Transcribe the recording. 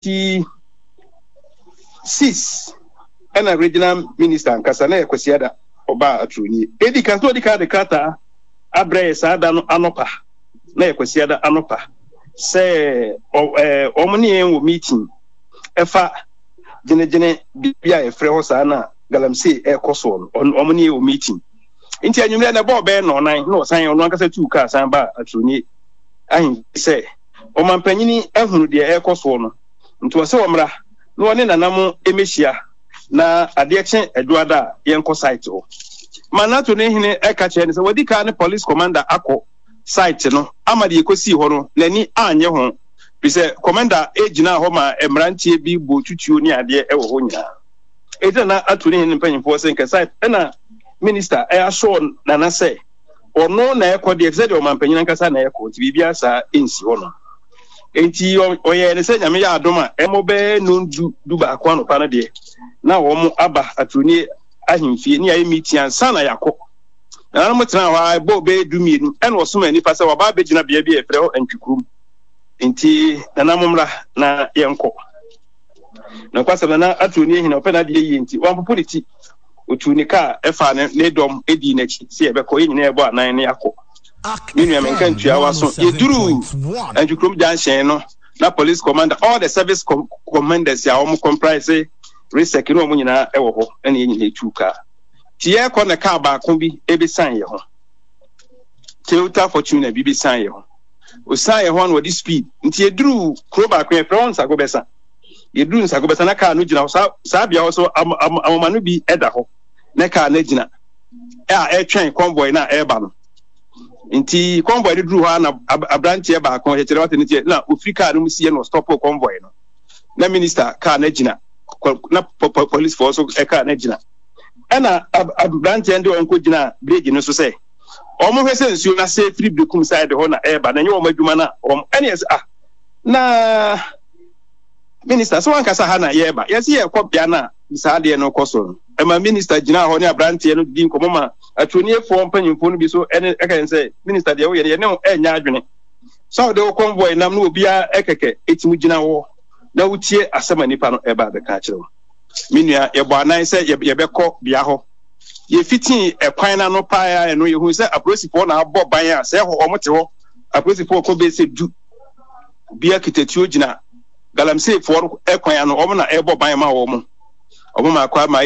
26 ɛna regional minister ankasa na yɛ Kwasiada ɔbaa Aturoni. Edi kan sɛ ɔdi kan de krataa abrɛ yɛ saa da no anɔpa, na yɛ Kwasiada anɔpa, sɛ wɔn ne yɛn wɔ meeting ɛfa gyenegyene bi a yɛfrɛ hɔ saa na galamsey ɛrekɔ soɔ no, wɔn ne yɛn wɔ meeting. Nti anwummerɛ na ɛbɔɔ bɛyɛ nnɔnan na ɔsan ɔno ankasa tuu kaa san baa Aturoni ahemfie sɛ ɔmampanyini ahunu deɛ ɛrekɔ soɔ no, nti ɔsɛ ɔmmra na ɔne nana mo mmɛhyia na adeɛ kye Adwoada a yɛnkɔ site hɔ. Manato ne hene ɛka kyerɛ no sɛ wadi kan ne police commander akɔ site no ama deɛ ɛkɔsii hɔ no n'ani anyɛ ho, firi sɛ commander gyinaa hɔ ma mmeranteɛ bi bɔɔ tutuo ne adeɛ wɔ hɔ nyinaa. Enti nana ato ne hene mpanyimfoɔ sɛ nka site ɛna minister ɛasɔɔ nana sɛ ɔno na ɛkɔ deɛ, sɛ deɛ ɔmanpanyin ankasa na ɛkɔ, nti biribiara saa nsi hɔ no. Nti ɔyɛɛ ne sɛ Nyame yɛ adom a ɛmɔ bɛyɛ nondu 11 anɔpa no deɛ na wɔn aba Aturoni ahemfie ne yɛayɛ meeting ansa na yɛakɔ. Nananom tenaa hɔ ara ɛbɔɔ bɛyɛ 12 ɛna ɔsomaa nnipa sɛ wɔaba abɛgyina bea bi a yɛfrɛ hɔ Antwikurom. Nti nana mommra na yɛnkɔ. Nokwasɛm nana Aturoni ahina ɔpɛ n'adeɛ yie nti wampopo ne ti. Otuu ne kaa faa ne ne dɔm dii n'akyi sɛ yɛbɛkɔ, yɛn nyinaa yɛbɔ anan na yɛakɔ. Me nua menka ntua w'aso. Yɛduruu Antwikurom junction no, na police commander, all the service com commanders a wɔn comprise RESEC ne wɔn nyinaa wɔ hɔ, ɛna yɛn nyinaa tuu kaa. Nti yɛrekɔ na kaa baako bi bɛsian yɛn ho. Toyota Fortuner bi bɛsian yɛn ho. Osian yɛn ho na wɔde speed. Nti yɛduruu kuro baako yɛfrɛ hɔ Nsagobɛsa. Yɛduru Nsagobɛsa na kaa no gyina hɔ. Saa saa bea hɔ so amoma no bi da hɔ na kaa no agyina a ɛretwɛn convoy no a ɛreba no. Nti convoy no duru hɔ a na aberanteɛ baako kyerɛ wate ne teɛ na ofiri kaa no mu sie na ɔstɔpo convoy no. Na minister kaa no agyina na policefoɔ nso kaa no agyina. Ɛna aberanteɛ no de wɔn kɔgyina bridge no so sɛ wɔn hwɛ sɛ nsuo no ase firi Berekum side hɔ na ɛreba na ɛnyɛ wɔn adwuma na wɔn ɛne ɛsɛ ah na Minister, sɛ wankasa ha na yɛreba. Yɛse yɛrekɔ bea no a saa adeɛ no kɔ so no. Ɛma minister gyinaa hɔ ne aberanteɛ no didi nkɔmmɔ ma atuoniefoɔ mpanyimfoɔ no bi so ɛne ɛka yɛn sɛ, Minister deɛ woyɛ no yɛne wo ɛnyɛ adwene. Sɛ wode wo convoy nam na obiara ɛkɛkɛ ɛtumi gyina hɔ na wotie asɛm a nipa no ɛba abɛka akyerɛ wo. Me nua, yɛbɔ anan sɛ yɛbɛkɔ bea hɔ. Yɛfitii ɛkwan no ano paa a ɛno yɛhuu sɛ apolisifoɔ na abɔ ban a sɛ ɛhɔ wɔn te hɔ. Apolisifoɔ kɔ bɛyɛ sɛ du. Obiara kita tuo gyina galamseyfoɔ no kwan ano, wɔn na ɛrebɔ ban ma wɔn. Wɔn ma akɔ ama.